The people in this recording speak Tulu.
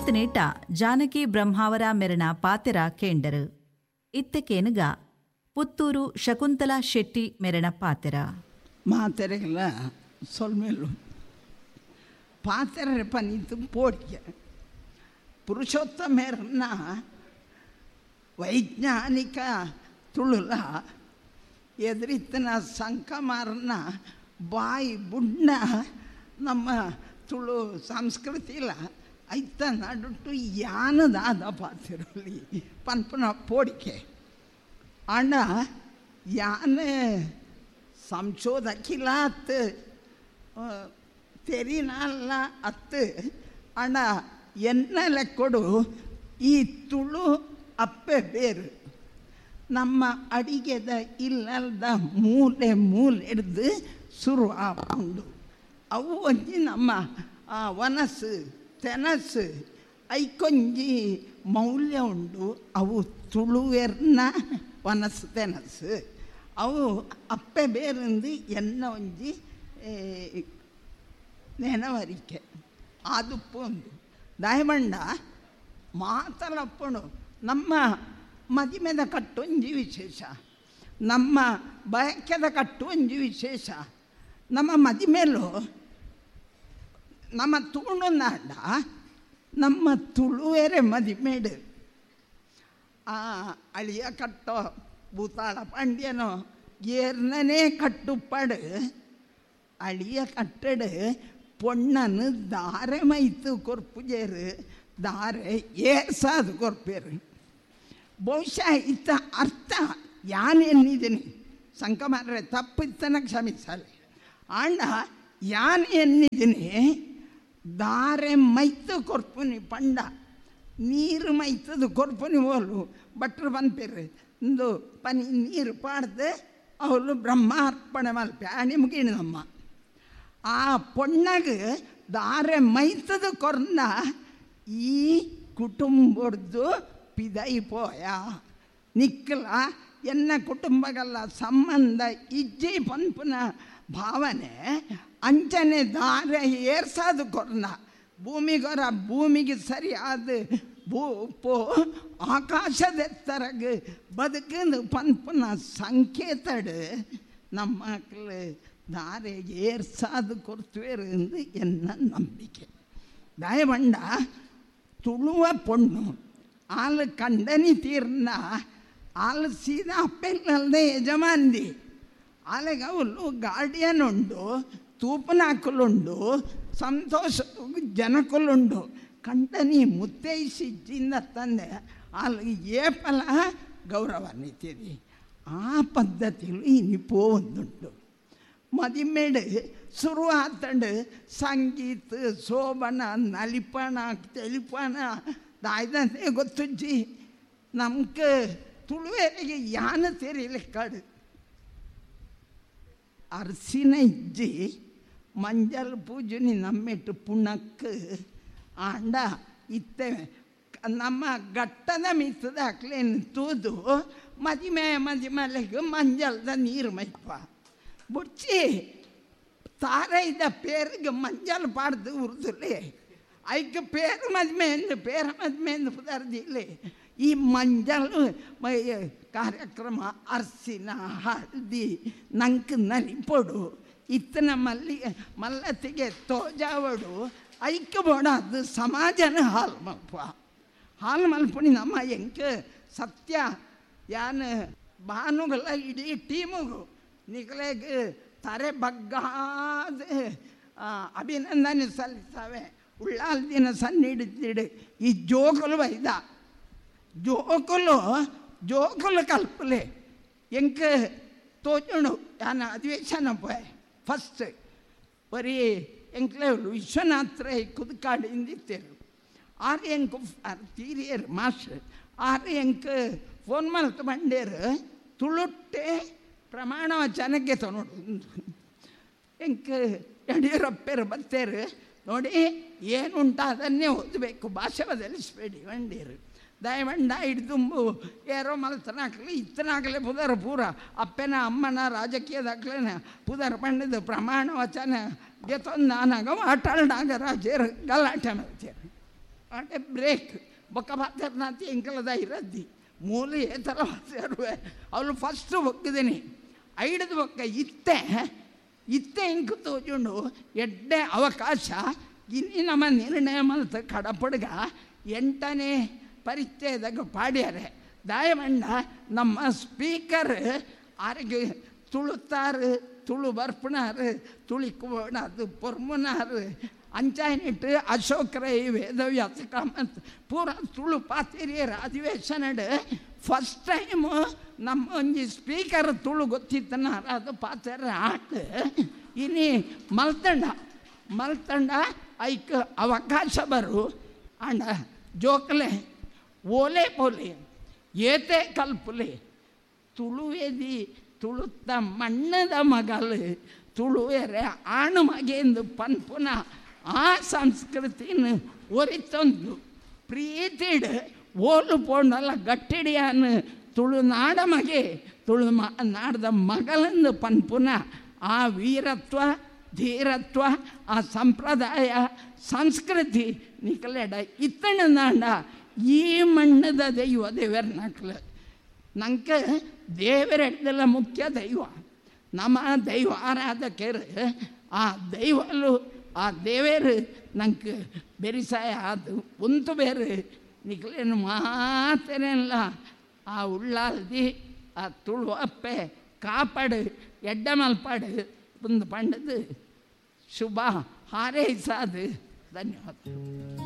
ಈತನೇಟ ಜಾನಕಿ ಬ್ರಹ್ಮಾವರ ಮೆರಣ ಪಾತೆರ ಕೇಂಡರು. ಇತ್ತಕೇನುಗ ಪುತ್ತೂರು ಶಕುಂತಲಾ ಶೆಟ್ಟಿ ಮೆರಣ ಪಾತೆರ. ಮಾತೆರೆಗಳ ಸೊಲ್ಮೇಲು ಪಾತೆರ ಪನಿತು ಪೋಡಿಗೆ ಪುರುಷೋತ್ತಮೇರನ್ನ ವೈಜ್ಞಾನಿಕ ತುಳುಲ ಎದುರಿತನ ಸಂಕಮಾರನ ಬಾಯಿ ಬುಣ್ಣ ನಮ್ಮ ತುಳು ಸಂಸ್ಕೃತಿಲ ಐತ ನಡುಟು ಯಾನದಾದ ಪಾತಿರಲಿ ಪನ್ಪನ ಪೋಡಿಕೆ. ಆಂಡ ಯಾನ ಸಂಶೋಧಕಿಲ ಅತ್ತು ತೆರಿನಲ್ಲ ಅತ್ತು ಆಂಡ ಎನ್ನ ಲೆಕ್ಕೊಡು ಈ ತುಳು ಅಪ್ಪೆ ಬೇರು ನಮ್ಮ ಅಡಿಗೆದ ಇಲ್ಲದ ಮೂಲೆ ಮೂಲೆ ಹಿಡ್ದು ಶುರು ಆಪುಂಡು. ಅವು ಒಂಜಿ ನಮ್ಮ ವನಸ್ಸು ತೆನಸ್ಸು ಐಕೊಂಜಿ ಮೌಲ್ಯ ಉಂಡು. ಅವು ತುಳುವೆರ್ನ ವನಸ್ಸು ತೆನಸ್ಸು ಅವು ಅಪ್ಪೆ ಬೇರೆಂದು ಎನ್ನ ಒಂಜಿ ನೆನವರಿಕೆ ಆದುಪ್ಪು ಒಂದು ದಾಯಮಂಡ ಮಾತಲಪ್ಪಣು. ನಮ್ಮ ಮದಿಮೆದ ಕಟ್ಟೊಂಜಿ ವಿಶೇಷ, ನಮ್ಮ ಬಯಕೆದ ಕಟ್ಟೊಂಜಿ ವಿಶೇಷ. ನಮ್ಮ ಮದಿಮೇಲೂ ನಮ್ಮ ತುಳುನಾಡ ನಮ್ಮ ತುಳುವೆರೆ ಮದಿಮೇಡು ಆ ಅಳಿಯ ಕಟ್ಟೋ ಭೂತಾಳ ಪಾಂಡ್ಯನೋ ಏರ್ನೇ ಕಟ್ಟುಪ್ಪಡು ಅಳಿಯ ಕಟ್ಟಡು ಪೊಣ್ಣನು ದಾರೆ ಮೈತು ಕೊರ್ಪುಜೇರು ದಾರೆ ಏರ್ಸಾದು ಕೊರ್ಪೇರು. ಬಹುಶಃ ಇತ್ತ ಅರ್ಥ ಯಾನ್ ಎನ್ನಿದ್ದೀನಿ ಸಂಕಮಾರ್ರೆ ತಪ್ಪಿತ್ತನ ಕ್ಷಮಿಸಲಿ. ಆಂಡ ಯಾನ್ ಎನ್ನಿದ್ದೀನಿ ದಾರೆ ಮೈತು ಕೊರ್ಪುನಿ ಪಂಡ ನೀರು ಮೈತದು ಕೊರ್ಪುನಿ ಓಲು ಭಟ್ರು ಪನ್ಪೇರು ಇಂದು ಪನಿ ನೀರು ಪಾಡ್ದು ಅವಳು ಬ್ರಹ್ಮಾರ್ಪಣೆ ಮಲ್ಪೆ ಆಣಿ ಮುಗಿಣಮ್ಮ. ಆ ಪೊಣ್ಣಗೆ ದಾರೆ ಮೈತದು ಕೊರ್ನ ಈ ಕುಟುಂಬದ್ದು ಪಿದೈ ಪೋಯ ನಿಕ್ಕಲ ಎನ್ನ ಕುಟುಂಬಗಲ್ಲ ಸಂಬಂಧ ಇಜ್ಜಿ ಪನ್ಪುನ ಭಾವನೆ ಅಂಚನೆ ದಾರೆ ಏರ್ಸಾದು ಕೊರ್ನ ಭೂಮಿಗೊರ ಭೂಮಿಗೆ ಸರಿಯಾದ ಭೂ ಪೋ ಆಕಾಶದೆತ್ತರಗ ಬದುಕಂದು ಪನ್ಪುನ ಸಂಕೇತಡು ನಮ್ಮ ಮಕ್ಕಳು ದಾರೆ ಏರ್ಸಾದು ಕೊರ್ತುವೇರು ಎಂದು ಎನ್ನ ನಂಬಿಕೆ. ದಯವಂಡ ತುಳುವ ಪೊಣ್ಣು ಆಲು ಕಂಡನಿ ತೀರ್ನ ಆಲು ಸೀದಾ ಅಪ್ಪೆಲ್ಲದೆ ಯಜಮಾನ್ದಿ ಆಲೆಗ ಅವಳು ಗಾರ್ಡಿಯನ್ ಉಂಡು ತೂಪನಾಕುಲುಂಡು ಸಂತೋಷ ಜನಕುಲುಂಡು ಕಂಡನಿ ಮುತ್ತೈಸಿಜ್ಜಿಂದ ತಂದೆ ಅಲ್ಲಿ ಏಪಲ ಗೌರವ ನಿತ್ಯದಿ. ಆ ಪದ್ಧತಿಲು ಇನಿಪೋ ಒಂದುಂಟು. ಮದಿಮೇಡು ಶುರು ಆತಂಡು ಸಂಗೀತ ಶೋಭನ ನಲಿಪಣ ತೆಲಿಪಣ ದಾಯ್ದಂತೆ ಗೊತ್ತುಜ್ಜಿ ನಮ್ಗೆ ತುಳುವೆರಿಗೆ ಯಾನ ತೆರಿಲಿಕ್ಕಾಡು ಅರಸಿನ ಇಜ್ಜಿ ಮಂಜಲ್ ಪೂಜನಿ ನಮ್ಮೆಟ್ಟು ಪುಣಕ್ಕೆ ಆಂಡ ಇತ್ತೆ ನಮ್ಮ ಗಟ್ಟದ ಮಿತ್ತದ ಅಕ್ಲೇನು ತೂದು ಮದಿಮೆ ಮದಿಮಲೆಗೆ ಮಂಜಲ್ದ ನೀರು ಮೈಪ ಬುಡ್ಚಿ ತಾರೈದ ಪೇರಿಗೆ ಮಂಜಲ್ ಪಾಡ್ದು ಉರ್ದುಲೆ ಐಕ್ ಪೇರು ಮದ್ಮೆ ಎಂದು ಪೇರ ಮದ್ಮೆ ಎಂದು ಪುದರ್ದಿಲ್ಲ. ಈ ಮಂಜಲ್ ಕಾರ್ಯಕ್ರಮ ಅರಸಿನ ಹಳದಿ ನಂಗೆ ನಲಿಪೊಡು ಇತ್ತನ ಮಲ್ಲಿ ಮಲ್ಲತ್ತಿಗೆ ತೋಜಾವಡು ಐಕ್ಯ ಬೋಡಾದು ಸಮಾಜನ ಹಾಲು ಮಲ್ಪ ಹಾಲು ಮಲ್ಪುಣಿ ನಮ್ಮ ಎಂಕ್ ಸತ್ಯ ಯಾನ್ ಭಾನುಗಳ ಇಡೀ ಟೀಮುಗು ನಿಗಲೆಗ್ ತರೆ ಬಗ್ಗಾದ ಅಭಿನಂದನೆ ಸಲ್ಲಿಸ್ತವೆ. ಉಳ್ಳಾಲ್ ದಿನ ಸಣ್ಣ ಹಿಡಿದಿಡು ಈ ಜೋಕುಲು ಬೈದ ಜೋಕುಲು ಜೋಕುಲು ಕಲ್ಪಲೆ ಎಂಕ್ ತೋಜುಂಡು ಯಾನ್ ಅಧಿವೇಶನ ಪೋಯೆ ಫಸ್ಟ್ ಬರೀ ಎಂಕ್ಲೆ ವಿಶ್ವನಾಥ್ ರೈ ಕುದ್ಕಾಡು ಇಂದಿತ್ತೇರು ಆರು ಎಂಕ್ ತೀರಿಯರು ಮಾಸ್ಟರ್ ಆರು ಎಂಕ್ ಫೋನ್ ಮಲ್ತು ಬಂಡೇರು ತುಳುಟ್ಟೆ ಪ್ರಮಾಣ ವಚನಕ್ಕೆ ತೊನೋಡು ಎಂಕ್ ಯಡಿಯೂರಪ್ಪರು ಬತ್ತೇರು ನೋಡಿ ಏನುಂಟ ಅದನ್ನೇ ಓದಬೇಕು ಭಾಷೆ ಬದಲಿಸಬೇಡಿ ಬಂಡೀರು ದಯವಂಡ ಹಿಡ್ದುಂಬು ಏರೋ ಮಲ್ತನಾಕ್ಲಿ ಇತ್ತನಾಗಲೇ ಪುದರ್ ಪೂರ ಅಪ್ಪನ ಅಮ್ಮನ ರಾಜಕೀಯದಾಗ್ಲೇನ ಪುದರ್ ಪಂಡದ ಪ್ರಮಾಣ ವಚನ ಗೆತೊಂದು ನಾನಾಗ ಆಟಾಳ್ನಾಗ ರಾಜೇರು ಗಲಾಟೆ ಮಾಡ್ತೇನೆ. ಆಂಡ ಬ್ರೇಕ್ ಬೊಕ್ಕ ಪಾತೆರ್ನಾತಿ ಎಂಕಲದ ಇರದ್ದಿ ಮೂಲ ಏತರ ಪಾತೆರುವೆ ಅವಳು ಫಸ್ಟ್ ಬೊಕ್ಕಿದ್ದೀನಿ ಐಡದ ಬೊಕ್ಕ ಇತ್ತೆ ಇತ್ತೆ ಇಂಕ್ ತೋಜುಂಡು ಎಡ್ಡೆ ಅವಕಾಶ ಇನ್ನು ನಮ್ಮ ನಿರ್ಣಯ ಮಲ್ತ ಕಡಪಡ್ಗ 8ನೇ ಪರಿಚ್ಛೇದಕ್ಕೆ ಪಾಡ್ಯಾರೆ ದಯಮಂಡ ನಮ್ಮ ಸ್ಪೀಕರ್ ಆರಿಗೆ ತುಳುತ್ತಾರು ತುಳು ಬರ್ಪುನಾರು ತುಳಿಕೋಣ ಅದು ಪೊರ್ಮುನಾರು ಅಂಚಾಯಿನಿಟ್ಟು ಅಶೋಕ್ ರೈ ವೇದವ್ಯಾಸ ಕಾಮತ್ ಪೂರ ತುಳು ಪಾತಿರಿಯರ ಅಧಿವೇಶನಡ್ ಫಸ್ಟ್ ಟೈಮು ನಮ್ಮ ಒಂಜಿ ಸ್ಪೀಕರ್ ತುಳು ಗೊತ್ತಿತ್ತನಾರ ಅದು ಪಾತೆರ ಆಟ ಇನಿ ಮಲ್ತಂಡ ಮಲ್ತಂಡ ಐಕ್ ಅವಕಾಶ ಬರು ಅಂಡ ಜೋಕಲೆ ಓಲೆ ಪೋಲೆ ಏತೆ ಕಲ್ಪುಲೆ ತುಳುವೆದಿ ತುಳುತ್ತ ಮಣ್ಣದ ಮಗಲು ತುಳುವೆರೆ ಆಣು ಮಗೆಂದು ಪನ್ಪುನ ಆ ಸಂಸ್ಕೃತಿನ ಒರಿತೊಂದು ಪ್ರೀತಿಡ್ ಓಲು ಪೋಂಡಲ್ಲ ಗಟ್ಟಿಡಿಯಾನು ತುಳುನಾಡ ಮಗೆ ತುಳು ನಾಡದ ಮಗಲೆಂದು ಪನ್ಪುನ ಆ ವೀರತ್ವ ಧೀರತ್ವ ಆ ಸಂಪ್ರದಾಯ ಸಂಸ್ಕೃತಿ ನಿಕಲೆಡ ಇತ್ತಣ ನಾಡ ಈ ಮಣ್ಣದ ದೈವ ದೇವರ ನಕ್ಲು ನಂಗೆ ದೇವರೆಡ್ದೆಲ್ಲ ಮುಖ್ಯ ದೈವ ನಮ್ಮ ದೈವ ಆರಾಧಕರು ಆ ದೈವಲು ಆ ದೇವರು ನಂಗೆ ಬೆರಿಸಾಯ ಅದು ಉಂತು ಬೇರೆ ನಿಕ್ಲೇನು ಮಾತೇನೆಲ್ಲ ಆ ಉಳ್ಳಾಲ್ದಿ ಆ ತುಳು ಅಪ್ಪೆ ಕಾಪಾಡು ಎಡ್ಡ ಮಲ್ಪಾಡು ಒಂದು ಪಂಡದು ಶುಭ ಹಾರೈಸಾದು. ಧನ್ಯವಾದ.